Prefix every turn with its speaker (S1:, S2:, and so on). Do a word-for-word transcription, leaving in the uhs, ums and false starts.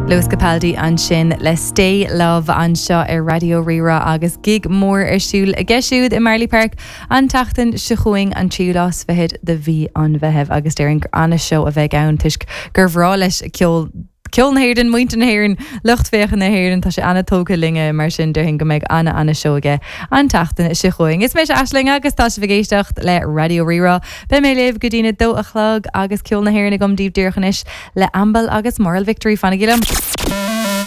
S1: Lewis Capaldi ansin le Stay Love anseo ar Raidió Rí-Rá agus gig mór ar siúl aige siúd i Marlay Park an tseachtain seo chugainn an tríú lá is fichead de mhí an Mheithimh agus déarfainn gur an-seó a bheidh ann toisc gur bhreá leis ceol Ceol na hÉireann muintir na hÉireann lucht féachana na hÉireann tá sé an-tógtha linne mar sin déarfainn go mbeidh ana an-seó aige an tseachtain seo chugainn. Is mise Aisling agus tá sibh ag éisteacht le Raidió Rí-Rá. Beidh mé libh go dtí a dó a chlog agus ceol na hÉireann agam daoibh díreach anois le Ambal agus Moral Victory fanaigí liom.